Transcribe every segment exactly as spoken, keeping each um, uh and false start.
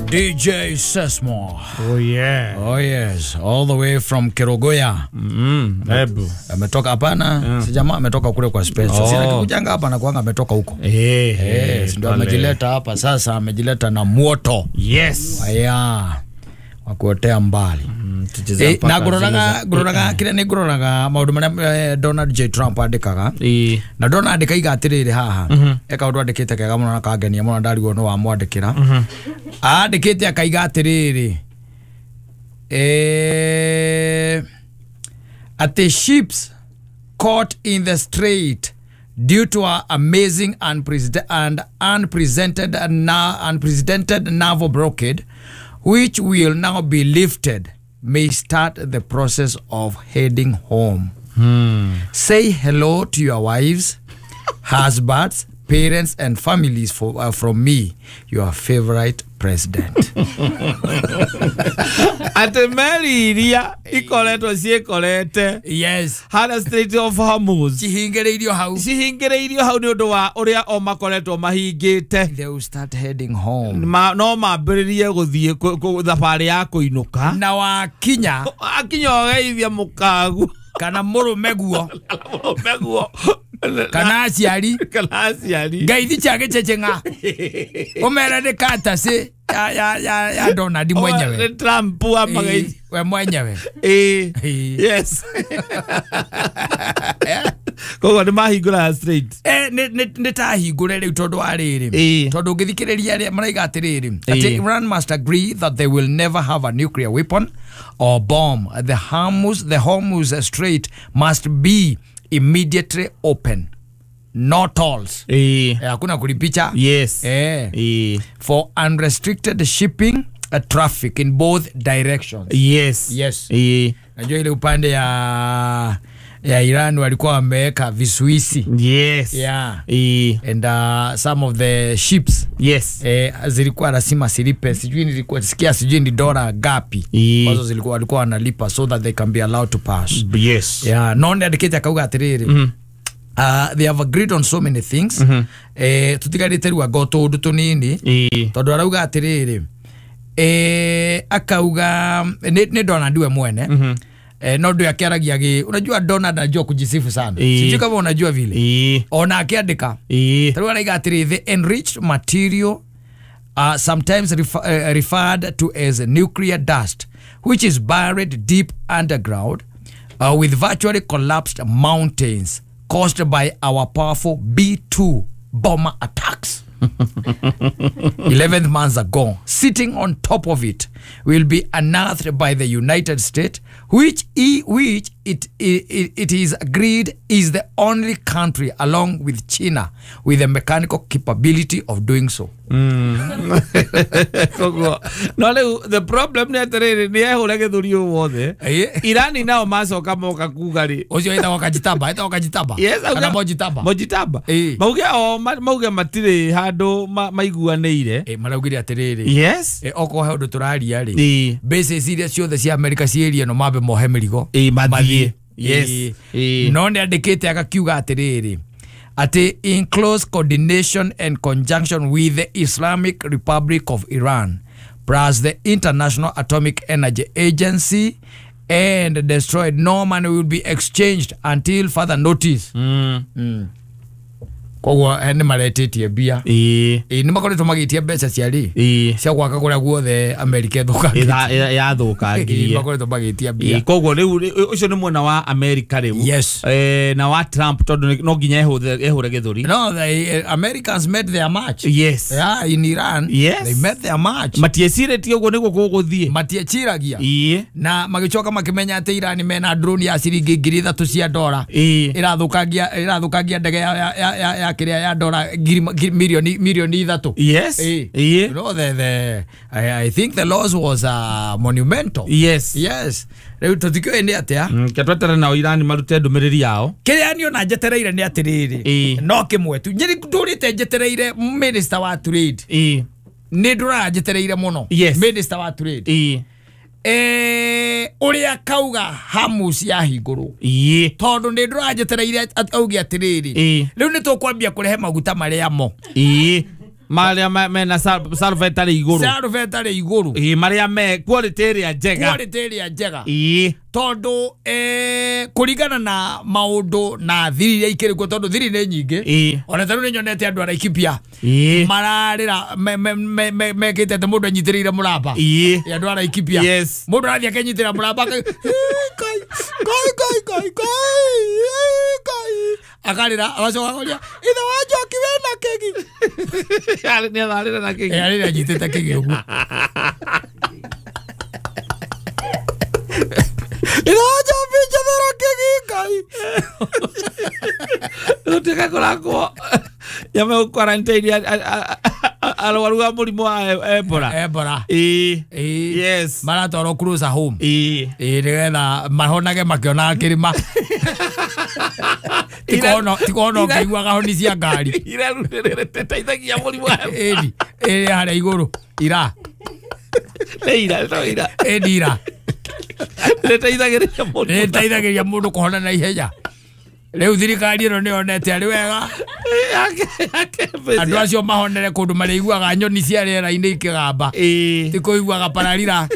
D J Sesmo. Oh yeah. Oh yes, all the way from Kerogoya. Mm, hebu. Ametoka hapana, mm. Si jamaa ametoka kule kwa special. Oh. Sina kikujanga hapa na kuanga ametoka huko. Eh, eh, ndio amejileta hapa sasa, amejileta na moto. Yes. Aya. Wakuotea mbali. Mm, eh, na guroraga guroraga kile ni guroraga maundu maria eh, Donald J Trump andikaga. Eh. Na Donald kaiga atiriri haha. Mm -hmm. Eka undu andikite kega muno na kangenia muno ndarigwo no wamwandikira. Mm -hmm. Andikite akaiga atiriri. Eh, at ships caught in the strait due to our amazing and unprecedented unprecedented naval blockade, which will now be lifted, may start the process of heading home. Hmm. Say hello to your wives, husbands, parents, and families for, uh, from me, your favorite president. Ate meli iria ikoretwo ciikorete. Yes. Hana Strait of Hormuz. Cihingireirio hau. Cihingireirio hau ni undu wa uria o makoretwo mahingite. They will start heading home. Ma, no mambiririe guthie thabari ya kuinuka. Na wakinya. Wakinya ugeithia mukagu. Kana murume guo. Murume guo. Kana aciari. Kana aciari. Ngeithi cia giceceng'a. Umere ni katasi ya ya ya ya Donald mwenyewe. Ni Trump wa mageithi. We mwenyewe. Eh. Yes. Koguo ni mahingura straight. Eh ni ni ta hingure riu tondu wa riri. Tondu ngithikiriria aria maraiga atiriri. Ati Iran must agree that they will never have a nuclear weapon or bomb. The Hormuz the Hormuz Strait must be immediately open. No tolls. Eh. Hakuna kulipicha. Yes. Eh. Eh. For unrestricted shipping uh, traffic in both directions. Yes. Yes. Eh. Najua ile upande ya ya Iran walikuwa wameweka visuisi. Yes. Yeah. Eh. And uh, some of the ships. Yes. Eh, zilikuwa lazima silipe. Sijui nilikuwa sikia sijui ni dola gapi. Eh. Ambazo zilikuwa walikuwa wanalipa so that they can be allowed to pass. Yes. Yeah, no ndikite akauga atiriri. Mm. Uh, they have agreed on so many things. Mm -hmm. Eh, tutigarite riu anga tundu tunini. Eh. Tondu arauga atiriri. Eh, akauga ni, ni Donald we mwene. Mm -hmm. Eh, no ndio akiaragia gi unajua Donald anajua kujisifu sana. E. Sijui kama unajua vile. E. Ona akiandika. E. Tarua araiga atiri the enriched material uh, sometimes refer, uh, referred to as nuclear dust, which is buried deep underground uh, with virtually collapsed mountains caused by our powerful B two bomber attacks. eleven months ago, sitting on top of it will be unearthed by the United States, which e, which it, it, it is agreed is the only country along with China with the mechanical capability of doing so. Mm. No, the problem ni atiriri ni ehure githuri wothe. Irani nao macoka moka kuga ri ucio etagwo Kajitaba, etagwo Kajitaba. Yes, kana Mojitaba. Mojitaba. Mauge o mauge matire handu maiguanĩire. Eh, maraugire atiriri. Yes. Eh, okorwo he undu turaria ri. Bases iria ciothe cia America ciĩrie no mambe mohe mĩrigo. Eh, mathie. Yes. No nĩ andĩkĩte agakiuga atiriri ati in close coordination and conjunction with the Islamic Republic of Iran plus the International Atomic Energy Agency and destroyed, no money will be exchanged until further notice. Mm. Mm. Koguo nĩ maretĩtie mbia. Ĩĩ. Ĩĩ nĩ makoretwo magĩtia mbeca cia rĩ. Ĩĩ. Cia gwaka kũrĩa guothe America ĩthũkangĩtie. Yathũkangirie. Makoretwo magĩtia mbia. Ĩĩ koguo rĩu ũcio nĩ mwena wa America rĩu. Yes. Eh, na wa Trump tondũ no nginya ehũre gĩthũri. No, the Americans met their match. Yes. Yeah, in Iran. Yes. They met their match. Matiecirĩtie ũguo nĩguo gũgũthiĩ. Matieciragia. Ĩĩ. Na magĩcoka makĩmenya atĩ Iran mena drone ya ciringi ngiri ithatũ cia dola. Ĩĩ. Ĩrathũkangia ĩrathũkangia ndege ya ya ya ya kiria ya dola ngiri milioni milioni ithatũ. Yes. Eh. Eh. You know, the, the I, I think the loss was uh, monumental. Yes. Yes. Rĩu tũtikĩũĩ nĩ atĩa. Mm, ketwetere nao Irani marute ndũmĩrĩri yao. Kĩrĩa niĩ ona njetereire nĩ atĩrĩrĩ. Ĩĩ. No kĩmwe tu. Njĩrĩ ndũrĩte njetereire minister wa trade. Ĩĩ. Nĩ ndũraga njetereire mũno. Yes. Minister wa trade. Ĩĩ. Eh, uria kauga Hamus yahingũrwo. Ĩĩ. Tondu nĩ ndũranjetereire auge atĩrĩrĩ. Ĩĩ. Rĩu nĩ tũkwambia kũrehe maguta marĩa mo. Ĩĩ. Maria mena sulfate arĩ igũrũ. Sulfate arĩ igũrũ. Ĩĩ maria me quality ĩrĩa njega. Quality ĩrĩa njega. Ĩĩ tondu eh kuringana na maundu na thiri iria ikĩrĩ kuo tondu thiri nĩ nyingĩ. Ĩĩ ona tarĩu nĩ nyonete andũ a Laikipia ĩĩ mararĩra mekĩte atĩ mũndũ anyitĩrĩire mũramba. Ĩĩ andũ a Laikipia. Yes. Mũndũ arathiĩ akenyitĩra mũramba kai kai kai kai kai kai akarĩra agacoka akoria ithe wa Njoki wĩna kĩgi. Nĩ ararĩra na kĩgi. Ĩ arĩra anyitĩte kĩgi ũguo. Iraja bichethera kĩgi Ngai. Gũtuĩka kũrakwo nyamũ quarantine arwaru a mũrimũ wa Ebola. Ebola. Ĩĩ. Ĩĩ. Yes. Maratwarwo closer home. Ĩĩ. Ĩĩ nĩgetha mahonage makĩonaga kĩrĩma. Tikono tikono ngĩiguaga honi cia ngari. Irateithagia mũrimũ wa Ebola. Ĩni ĩrĩ harĩa igũrũ ira. Nĩ ira no ira. Ĩni ira. Nĩteithagĩrĩria mũndũ. Nĩteithagĩrĩria mũndũ kũhona na ihenya. Rĩu thirikari ĩno nĩyonete arĩ wega andũ acio mahonere kũndũ marĩiguaga nyoni cia rĩera-inĩ ikĩgamba. Ĩĩ. Ti kũiguaga pararira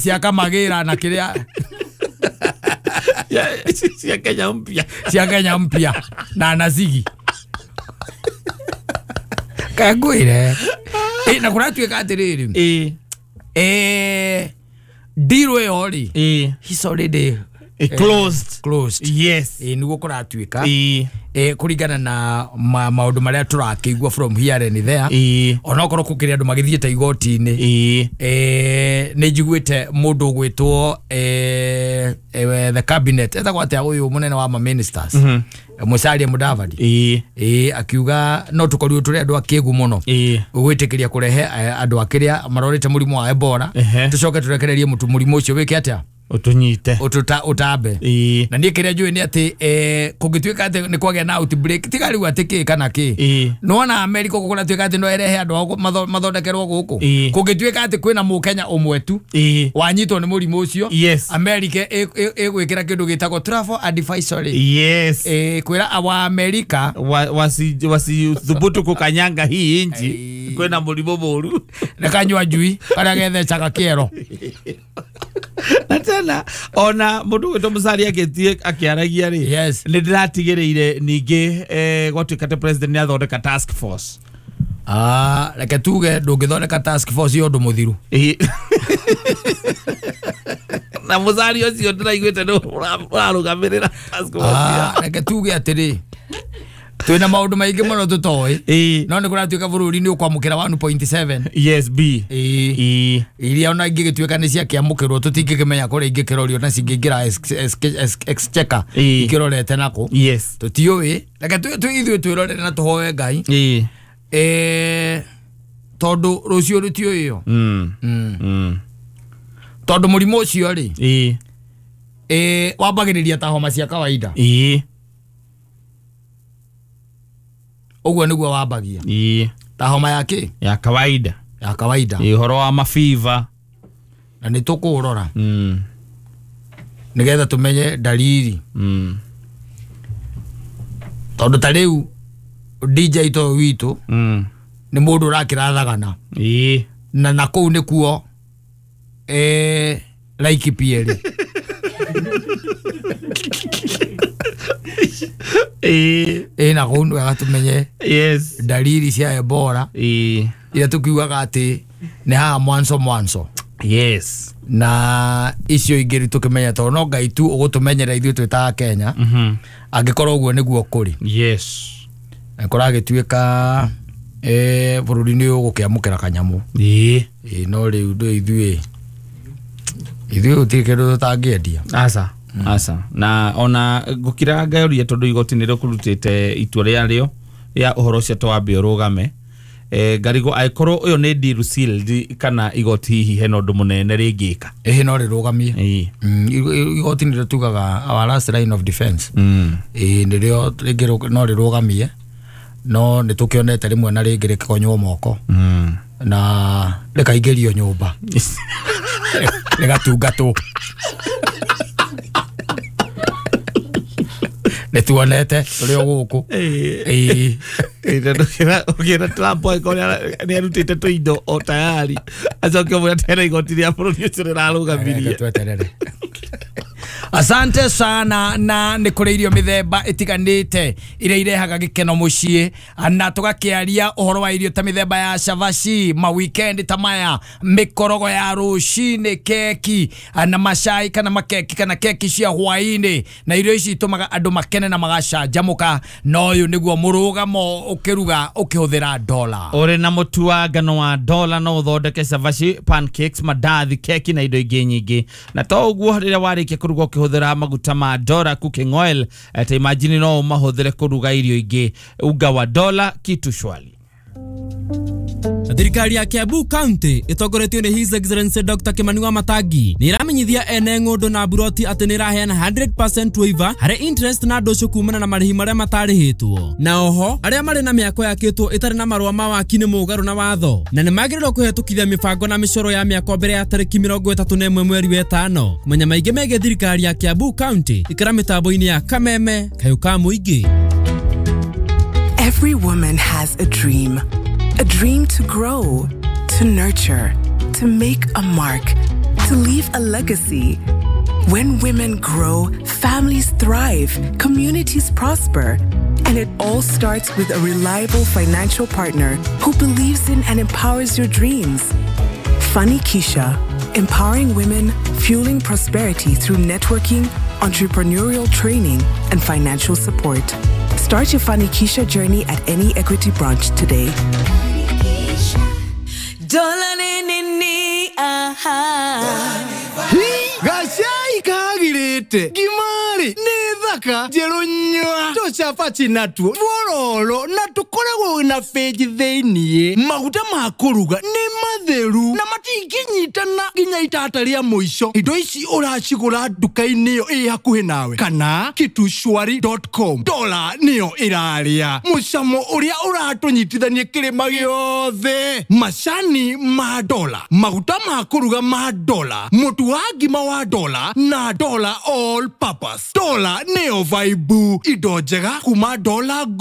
cia kamagĩra na kĩrĩa cia Kenya mpya. Cia Kenya mpya na nazigi. Kangwĩre. Ĩ na kũratuĩka atĩrĩrĩ. Ĩĩ. Eh deal ĩyo rĩ. Ĩĩ. He's already closed. Closed. Yes. Ĩ nĩguo kũratuĩka. Ĩĩ. Eh kũringana na maũndũ marĩa tũrakĩigua from here and there. Ĩĩ. Onokorwo gũkĩrĩ andũ magĩthiĩte igoti-inĩ. Ĩĩ. Eh nĩ njiguĩte mũndũ ũgwĩtwo eh the cabinet etagwo atĩa ũyũ mũnene wa ma ministers. Musalia Mudavadi. Ĩĩ. Ĩĩ akiuga no tũkorirwo tũrĩ andũ akĩgu mũno. Ĩĩ. Gwĩtĩkĩria kũrehe andũ akĩrĩa marorete mũrimũ wa Ebola. Tũcoke tũrekererie mũtu mũrimũ ũcio wĩke atĩa? Utunyite. Ututa utambe. Ĩĩ. Na niĩ kĩrĩa njũĩ nĩ atĩ eh kũngĩtuĩka atĩ nĩ kwagĩa na outbreak tiga rĩu atĩ kĩ kana kĩ. Ĩĩ. Nĩwona America kũratuĩka atĩ no ĩrehe andũ ao mathondekerwo gũkũ. Ĩĩ. Kũngĩtuĩka atĩ kwĩna mũkenya ũmwe tu Ĩĩ. wanyitwo nĩ mũrimũ ũcio. Yes. America ĩgwĩkĩra kĩndũ gĩtagwo travel advisory. Yes. Eh kwĩra wa America wasi wasithubutu kukanyanga hii inchi kwĩna mũrimũ mũru. Nĩ kanyua njui karĩa gethecaga kĩero. Na tena ona mũndũ gwĩtwo Musalia agĩthiĩ akĩaragia rĩ. Yes. Nĩ ndĩratigĩrĩire ningĩ eh gwatuĩka atĩ president nĩ athondeka task force. Ah, reke tuge ndũngĩthondeka task force ya ũndũ mũthiru. Ĩĩ. Na Musalia ũcio ndĩraiguĩte nĩ ũrarũgamĩrĩra task force. Ah, reke tuge atĩrĩ twĩna maũndũ maingĩ mũno tũtoĩ. Ĩĩ. No nĩ kũratuĩka bũrũri nĩ ũkwamũkĩra one point seven. Yes B. Ĩĩ. Ĩĩ. Iria ona ingĩgĩtuĩka nĩ ciakĩamũkĩrwo tũtingĩkĩmenya kũrĩa ingĩkĩrorio na cingĩingĩra exchequer Ĩĩ. ikĩrorete nakũ. Yes. Tũtiũĩ. Reke ithuĩ twĩrorere na tũhoe Ngai. Ĩĩ. Eh tondũ rũciũ rũtiũĩyo. Mm. Mm. Mm. Tondũ mũrimũ ũcio rĩ. Ĩĩ. Eh wambagĩrĩria ta homa cia kawaida. Ĩĩ. Ũguo nĩguo wambagia. Ĩĩ. Ta homa ya kĩ? Ya kawaida. Ya kawaida. Ĩĩ ũhoro wa mafiva. Na nĩ tũkũũrora. Mm. Nĩgetha tũmenye dalili. Mm. Tondũ ta rĩu D J to witũ Mm. nĩ mũndũ ũrakĩrathagana. Ĩĩ. Na na kũu nĩkuo eh Laikipia rĩ. Ĩĩ. Ĩĩ na kũu nĩ wega tũmenye Yes. dalili cia Ebola. Ĩĩ. Iria tũkiugaga atĩ nĩ haha mwanzo mwanzo. Yes. Na icio ingĩ tũkĩmenya tondũ no Ngai tu ũgũtũmenyera ithuĩ twĩ ta Kenya. Mhm. Angĩkorwo ũguo nĩguo kũrĩ. Yes. Na kũragĩtuĩka eh bũrũri nĩ ũgũkĩamũkĩra kanyamũ. Ĩĩ. Ĩĩ no rĩu ndũ ithuĩ ithuĩ gũtirĩ kĩndũ tũtangĩendia. Aca. Aca. Na ona ngũkiraga ngaũria tondũ igoti nĩ rĩkũrutĩte itua rĩarĩo rĩa ũhoro ũcio twambe ũrũgame. Eh ngarigwo angĩkorwo ũyũ nĩ deal sealed kana igoti hihi hena ũndũ mũnene rĩngĩka. Ĩhĩ no rĩrũgamie. Ĩĩ. Mm, igoti nĩrĩo tugaga our last line of defense. Mm. Ĩĩ nĩrĩo rĩngĩ no rĩrũgamie no nĩ tũkĩonete rĩmwe na rĩngĩ rĩkĩkonywo moko. Mm. Na rĩkaingĩrio nyũmba. Rĩgatungatwo. Nĩ tuonete tũrĩ o gũkũ. Ĩĩ. Ĩĩ. Ũkĩra Trump angĩkorwo nĩ arutĩte tũindo o tayari acoke ũmwĩre atĩ hena igoti rĩa bũrũri ũcio rĩrarũgamirie. Tweterere. Asante sana na nĩ kũrĩ irio mĩthemba ĩtiganĩte iria irehaga gĩkeno mũciĩ na tũgakĩaria ũhoro wa irio ta mĩthemba ya cabaci, ma weekend ta maya, mĩkorogo ya rũcinĩ, keki na macai kana makeki kana keki cia hwaĩ-inĩ, na irio ici itũmaga andũ makene na magacanjamũka, na ũyũ nĩguo mũrũgamo ũkĩruga ũkĩhũthĩra dola. Ũrĩ na mũtu wa ngano wa dola no ũthondeke cabaci, pancakes, mandathi, keki na indo ingĩ nyingĩ. Na to ũguo rĩrĩa warĩkia kũruga ũkĩhũthĩra maguta ma Dora cooking oil, ta imagine no ũmahũthĩre kũruga irio ingĩ. Unga wa Dola kitu shwali. Thirikari ya Kiambu County ĩtongoretio nĩ His Excellency Doctor Kimani wa Matangi nĩ ĩramenyithia ene ng'ũndũ na buroti atĩ nĩ ĩraheana one hundred percent waiver harĩ interest na ndũcũ kumana na marĩhi marĩa matarĩhĩtwo, na oho arĩa marĩ na mĩako yakĩtwo ĩtarĩ na marũa ma waki nĩ mũgarũ na watho na nĩ magĩrĩirwo kũhetũkithia mĩbango na mĩcoro ya mĩako mbere ya tarĩki mĩrongo ĩtatũ na ĩmwe mweri wa ĩtano. Kũmenya maingĩ megiĩ thirikari ya Kiambu County, ikara mĩtambo-inĩ ya Kameme Kayũ ka Mũingĩ. Every woman has a dream. A dream to grow, to nurture, to make a mark, to leave a legacy. When women grow, families thrive, communities prosper. And it all starts with a reliable financial partner who believes in and empowers your dreams. Fanikisha, empowering women, fueling prosperity through networking, entrepreneurial training, and financial support. Start your Fanikisha journey at any Equity branch today. Dola nini aha. Gacai kagirĩte ngimari nĩ thaka njerũ nyua tũcabaci natuo twororo na tũkoragwo na benji thĩiniĩ. Maguta ma kũruga nĩ matheru na matingĩnyitana nginya itata rĩa mũico. Indo ici ũracigũra nduka-inĩ ĩyo ĩ hakuhĩ nawe kana kitushwari dot com. Dola nĩyo ĩrarĩa mũcamo ũrĩa ũratũnyitithania kĩrĩma gĩothe. Macani ma Dola, maguta ma kũruga ma Dola, mũtu wa ngima wa Dola na Dola all purpose. Dola nĩyo vibe, indo njega kuma Dola Group.